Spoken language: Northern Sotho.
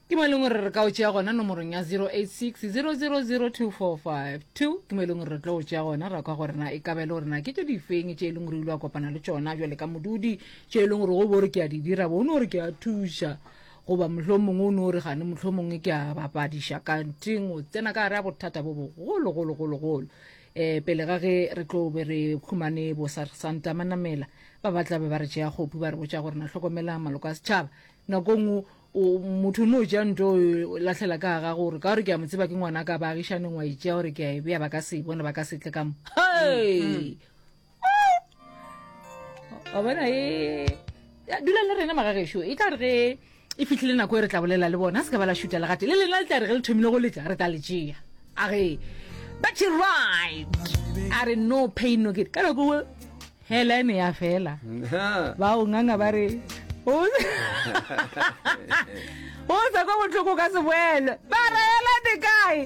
Ke mo e leng gore re ka o tšea gona nomorong ya 086 0002452. Ke mo e leng gore re tlo o tšea gona ra kwa gore na e ka ba e le gore na ke tše difeng tše e leng gore o ile wa kopana le tšona bjale ka modudi, tše e leng gore go bo re ke a di dira bo o no re ke a thuša goba mohlomongwe o no re gane mohlomongwe ke a bapadiša kanteng o tsena ka gare a bothata bo bogolo golo golo golo. Um pele ga ge re tlo be re khumane bo Santa Manamela ba ba tla be ba re tšea kgopu ba re botša gore na hlokomela maloko a setšhaba nako nngwe O, motho o no tšea nto o lahlela ka ga gore ka gore ke a mo tseba ke ngwana ka baagišaneng wa e tšea gore ke a e bea ba ka se e bone ba ka se tle ka mo. Hei! Wa bona e ya, dula le rena magagešo e tla re ge e fihlile nako e re tla bolela le bona se ka ba la šuta legate le lena le tla re ge le thomile go letla re tla le tšea a ge but you right a re no pain no gain ka nako Helen ya fela. Ba o nganga ba re o o sa kwa bohloko ka se boele. Ba re Helen e kae?